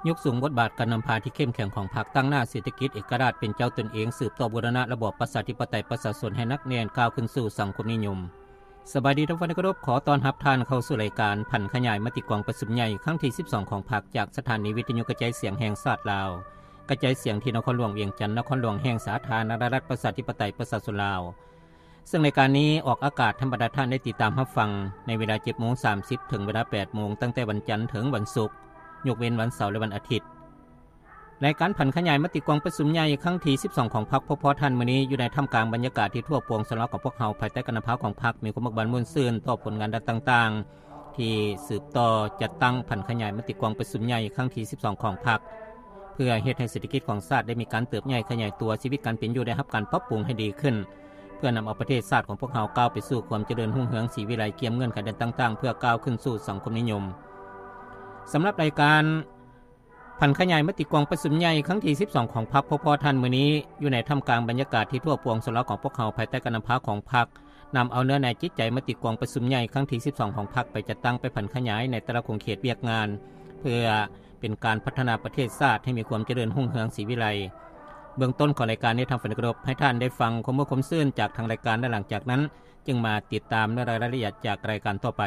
ຍົກສູງບົດບາດການນຳພາທີ່ເຂັ້ມແຂງຂອງພັກ, ຕັ້ງໜ້າເສດຖະກິດເອກະລາດເປັນເຈົ້າຕົນເອງ, ສືບຕໍ່ບູລະນະລະບອບປະຊາທິປະໄຕປະຊາຊົນໃຫ້ໜັກແໜ້ນ, ກ້າວຂຶ້ນສູ່ສັງຄົມນິຍົມ. ສະບາຍດີທ່ານຜູ້ຟັງທີ່ເຄົາລົບ, ຂໍຕ້ອນຮັບທ່ານເຂົ້າສູ່ລາຍການຜັນຂະຫຍາຍມະຕິກອງປະຊຸມໃຫຍ່ຄັ້ງທີສິບສອງຂອງພັກ ຈາກສະຖານີວິທະຍຸກະຈາຍສຽງແຫ່ງຊາດລາວ, ກະຈາຍສຽງທີ່ນະຄອນຫຼວງວຽງຈັນ, ນະຄອນຫຼວງແຫ່ງສາທາລະນະລັດປະຊາທິປະໄຕປະຊາຊົນລາວ. ເຊິ່ງລາຍການນີ້ອອກອາກາດໃຫ້ບັນດາທ່ານໄດ້ຕິດຕາມຮັບຟັງໃນເວລາເຈັດໂມງສາມສິບ ເຖິງເວລາແປດໂມງ ຕັ້ງແຕ່ວັນຈັນເຖິງວັນສຸກ, ຍົກເວັ້ນວັນເສົາ ແລະ ວັນອາທິດ. ລາຍການຜັນຂະຫຍາຍມະຕິກອງປະຊຸມໃຫຍ່ຄັ້ງທີສິບສອງຂອງພັກ ພົບພໍ້ທ່ານມື້ນີ້ ຢູ່ໃນທ່າມກາງບັນຍາກາດທີ່ທົ່ວປວງຊົນລາວຂອງພວກເຮົາ ພາຍໃຕ້ການນຳພາຂອງພັກ ມີຄວາມເບີກບານມ່ວນຊື່ນຕໍ່ຜົນງານດ້ານຕ່າງໆ ທີ່ສືບຕໍ່ຈັດຕັ້ງຜັນຂະຫຍາຍມະຕິກອງປະຊຸມໃຫຍ່ຄັ້ງທີສິບສອງຂອງພັກ ເພື່ອເຮັດໃຫ້ເສດຖະກິດຂອງຊາດໄດ້ມີການເຕີບໃຫຍ່ຂະຫຍາຍຕົວ, ຊີວິດການເປັນຢູ່ໄດ້ຮັບການປັບປຸງໃຫ້ດີຂຶ້ນ, ເພື່ອນຳເອົາປະເທດຊາດຂອງພວກເຮົາກ້າວໄປສູ່ຄວາມຈະເລີນຮຸ່ງເຮືອງສີວິໄລ, ກຽມເງື່ອນໄຂດ້ານຕ່າງໆ ເພື່ອກ້າວຂຶ້ນສູ່ສັງຄົມນິຍົມ. ສຳລັບລາຍການຜັນຂະຫຍາຍມະຕິກອງປະຊຸມໃຫຍ່ຄັ້ງທີສິບສອງຂອງພັກ ພົບພໍ້ທ່ານມື້ນີ້ ຢູ່ໃນທ່າມກາງບັນຍາກາດທີ່ທົ່ວປວງຊົນລາວຂອງພວກເຮົາ ພາຍໃຕ້ການນຳພາຂອງພັກ ນຳເອົາເນື້ອໃນຈິດໃຈມະຕິກອງປະຊຸມໃຫຍ່ຄັ້ງທີສິບສອງຂອງພັກ ໄປຈັດຕັ້ງ, ໄປຜັນຂະຫຍາຍໃນແຕ່ລະຂົງເຂດວຽກງານ ເພື່ອເປັນການພັດທະນາປະເທດຊາດໃຫ້ມີຄວາມຈະເລີນຮຸ່ງເຮືອງສີວິໄລ. ເບື້ອງຕົ້ນຂອງລາຍການນີ້ ທ່ານຜູ້ເຄົາລົບ, ໃຫ້ທ່ານໄດ້ຟັງຄວາມມ່ວນຄວາມຊື່ນຈາກທາງລາຍການ ແລະ ຫຼັງຈາກນັ້ນຈຶ່ງມາຕິດຕາມເນື້ອໃນລາຍລະອຽດຈາກລາຍການຕໍ່ໄປ.